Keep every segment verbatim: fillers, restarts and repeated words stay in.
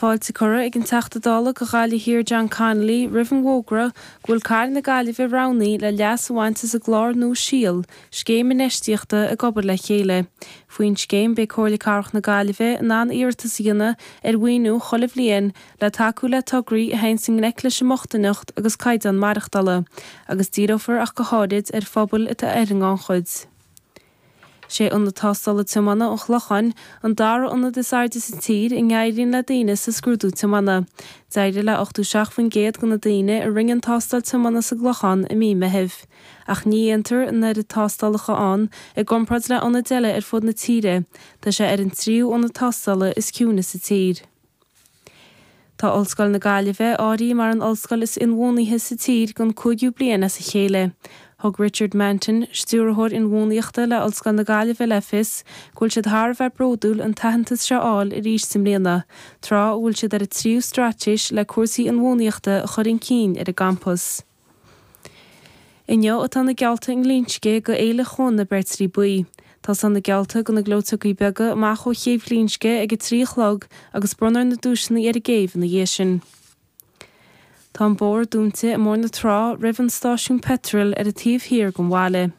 Fáilte curtha ag an Teachta Dála do Ghaillimh Thiar John Connolly roimh an bhfógra go bhfuil Cathair na Gaillimhe roghnaithe le leas a bhaint as an gclár nua Síol, scéim infheistíochta ag obair le chéile. Faoin scéim beidh Comhairle Cathrach na Gaillimhe in ann iarratas a dhéanamh ar mhaoiniú chuile bhliain le tacú le tograí a théann i ngleic leis an mbochtaineacht agus caighdeán maireachtála, agus díreofar ach go háirid ar phobail atá ar an ngannchuid. Sé Ionad Tástála Tiomána an Chlocháin an dara ionad is airde sa tír a n-éiríonn le daoine sa scrúdú tiomána. D'éirigh le ochtó seacht faoin gcéad de na daoine a rinne an tástáil tiomána sa gClochán i mí Meithimh. Ach ní dhéantar an oiread tástálacha ann i gcomparáid le ionaid eile ar fud na tíre. Tá sé ar an tríú ionad tástála is ciúine sa tír. Tá Ollscoil na Gaillimhe áirithe mar an ollscoil is inbhuanaithe sa tír don cúigiú bliain as a chéile. Thug Richard Manton, stiúrthóir inbhuanaitheachta le Ollscoil na Gaillimhe le fios go bhfuil siad thar a bheith bródúil an t-aitheantas seo a fháil arís i mbliana, tráth a bhfuil siad ar a tríú straitéis le cúrsaí inbhuanaitheachta a chur chun cinn ar an gcampas. Inniu atá na geallta i nGlinsce do Fhéile Chuan na Beirtrí Buí. Tosaíonn na geallta do na gleoiteogaí beaga amach ó chéibh Ghlinsce ag a trí a chlog agus bronnfar na duaiseanna ar an gcéibh ina dhiaidh sin. Tá an bóthar dúnta i mBóthar na Trá roimh an stáisiún peitril ar an taobh thiar den bhaile.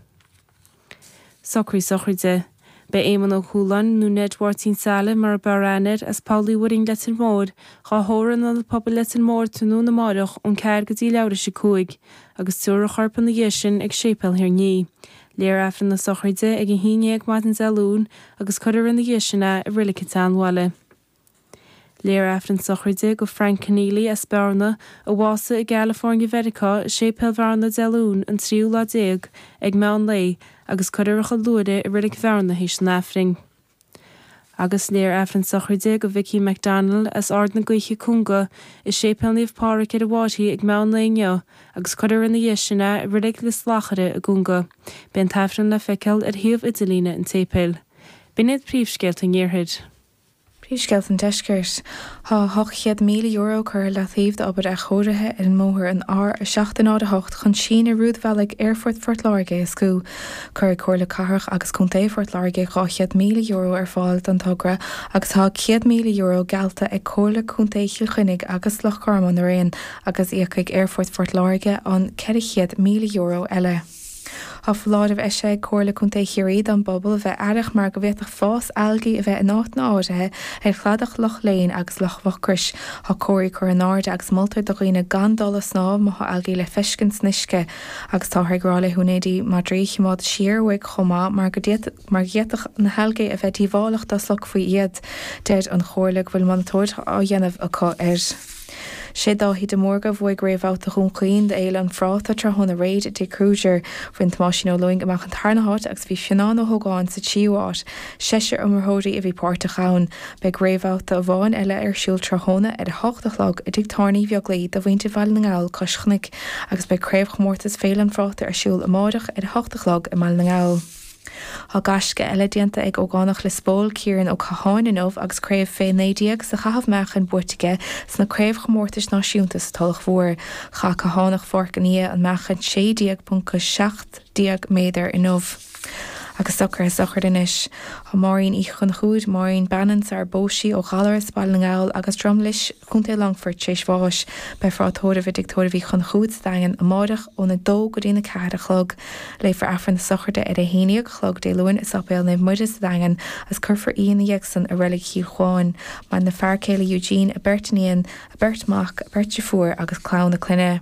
Socruithe sochraide. Beidh Éamonn Ó Cualáin nó Ned Mháirtín Saile mar ab fhearr aithne air as Poll Uí Mhuirinn Leitir Móir dhá thórramh in Ionad Pobail Leitir Móir tráthnóna amáireach ón ceathair go dtí leathuair tar éis a cúig agus tabharfar a chorp ina dhiaidh sin ag Séipéal Thír an Fhia. Léifear Aifreann na sochraide ag a haon déag maidin Dé Luain agus cuirfear ina dhiaidh sin é i Reilig an tSeanbhaile. Léifear Aifreann sochraide do Frank Keneally as Bearna a bhásaigh i gCalifornia Mheiriceá i Séipéal Bhearna Dé Luain an tríú lá déag ag meán lae agus cuirfear a chuid luaithre i Reilig Bhearna théis an Aifrinn. Agus léifear Aifreann sochraide do Vicky McDonald as Ard na Gaoithe Cúnga i Séipéal Naomh Pádraig ar an bhFairche ag meán lae inniu agus cuirfear ina dhiaidh sin é i Reilig Lios Lachaire i gCúnga. Beidh an t-aifreann le feiceáil ar shuíomh idirlíne an tséipéil. B'in iad príomhscéalta an Iarthair. Príomhscéalta an Deiscirt. Tá ocht chéad míle euro curtha le taobh d'obair athchóirithe ar an mbóthar an R a seacht náid a hocht chun síneadh rúidbhealaigh Aerfort Phort Láirge a éascú. Cuirfidh Comhairle Cathrach agus Contae Phort Láirge dhá chéad míle euro ar fáil don togra agus tá céad míle euro geallta ag Comhairle Contae Chill Chainnigh agus Loch Garman araon agus íocfaidh Aerfort Phort Láirge an ceithre chéad míle euro eile. Tá foláireamh eisithe ag Comhairle Contae Chiarraí don bpobal a bheith aireach mar go bhféadfadh fás algaí a bheith in áiteanna áirithe ar chladach Loch Léin agus Loch Mhucrois. Tá comharthaí curtha in airde agus moltar do dhaoine gan dul ag snámh má tá algaí le feiscint san uisce agus táthar ag rá le húinéirí madraí choimeád siar uaidh chomh maith mar go mar go bhféadfadh na halgaí a bheith díobhálach dá slogfaí iad. Deir an Chomhairle go bhfuil monatóireacht á dhéanamh acu air. Sé Dáithí de Mórdha a bhuaigh réamhbhabhta Dhún Chaoin d'Fhéile an Phráta tráthnóna aréir i dTigh Crozier. Bhain Tomáisín Ó Lúing amach an tarna háit agus bhí Fionnán Ó hÓgáin sa tríú háit. Seisear iomaitheoirí a bhí páirteach ann. Beidh réamhbhabhta amháin eile ar siúl tráthnóna ar a hocht a chlog i dTigh Tábhairne Uí Bheaglaoi do mhuintir Bhaile na nGall Cois Chnoic agus beidh craobhchomórtas Féile an Phráta ar siúl amárach ar a hocht a chlog i mBaile na nGall. Tá gaisce eile déanta ag ógánach Lios Póil Ciarán Ó Catháin inniu agus craobh fé naoi déag sa chaitheamh meáchain buaite aige sna craobhchomórtais náisiúnta sa Tulach Mhór. Chaith Cathánach Pháirc an Fhia an meáchan sé déag ponc seacht déag méadar inniu. Agus socruithe sochraide anois. Tá Máirín Uí Chonchúir, Máirín Bannon sar phós sí ó Ghallaras Baile na nGall agus Drumlish Contae Longfoirt tar éis bháis. Beifear á tórramh i dTigh Tórraimh Uí Chonchúir sa Daingean amárach óna dó go dtí na ceathair a chlog. Léifear Aifreann na sochraide ar a haon déag a chlog Dé Luain i Séipéal Naomh Muire sa Daingean agus cuirfear í ina dhiaidh san i Reilig Chill Chuáin. Maireann a fear céile Eugene, a beirt iníon, a beirt mac, a beirt deirfiúr agus clann a clainne.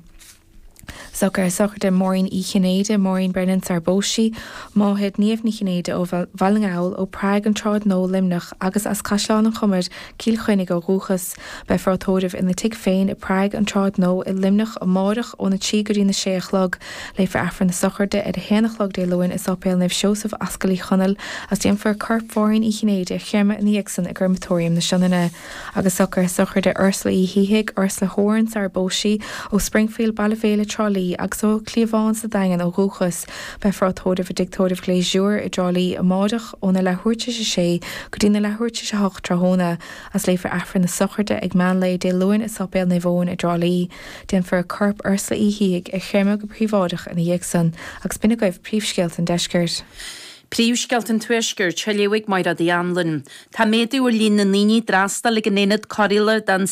Socruithe sochraide Máirín Uí Chinnéide, Maureen Brennan sar phós sí, máthair Niamh Ní Chinnéide ó Bhaile na nGall, ó Prague an Tsráid Nua Luimneach agus as Caisleán an Chomair, Cill Chainnigh ó dhúchas. Beifear á tórramh ina tigh féin i Prague an Tsráid Nua i Luimneach amárach óna trí go dtí na sé a chlog. Léifear Aifreann na sochraide ar a haon a chlog Dé Luain i Séipéal Naomh Seosamh Ascaill Uí Chonaill agus déanfar corp Mháirín Uí Chinnéide a chreimeadh ina dhiaidh san i gcreimeatóiriam na Sionainne. Agus socruithe sochraide Ursula Uí Shíthigh, Ursula Horan sar phós sí, ó Springfield Baile Bhéile Trá Lí agus ó Chliabhán sa Daingean ó dhúchas. Beifear á tórramh i dTigh Tórraimh Ghlésure i dTrá Lí amárach óna leathuair tar éis a sé go dtí na leathuair tar éis a hocht tráthnóna. Agus léifear Aifreann na sochraide ag meán lae Dé Luain i Séipéal Naomh Eoin i dTrá Lí. Déanfar corp Ursula Uí Shíthigh a chreimeadh go príobháideach ina dhiaidh san. Agus b'in agaibh príomhscéalta an deiscirt. Príomhscéalta an Tuaiscirt léifidh Máire Anlin. Tá méadú ar líon na ndaoine d'fhreastail ag an aonad cóireála don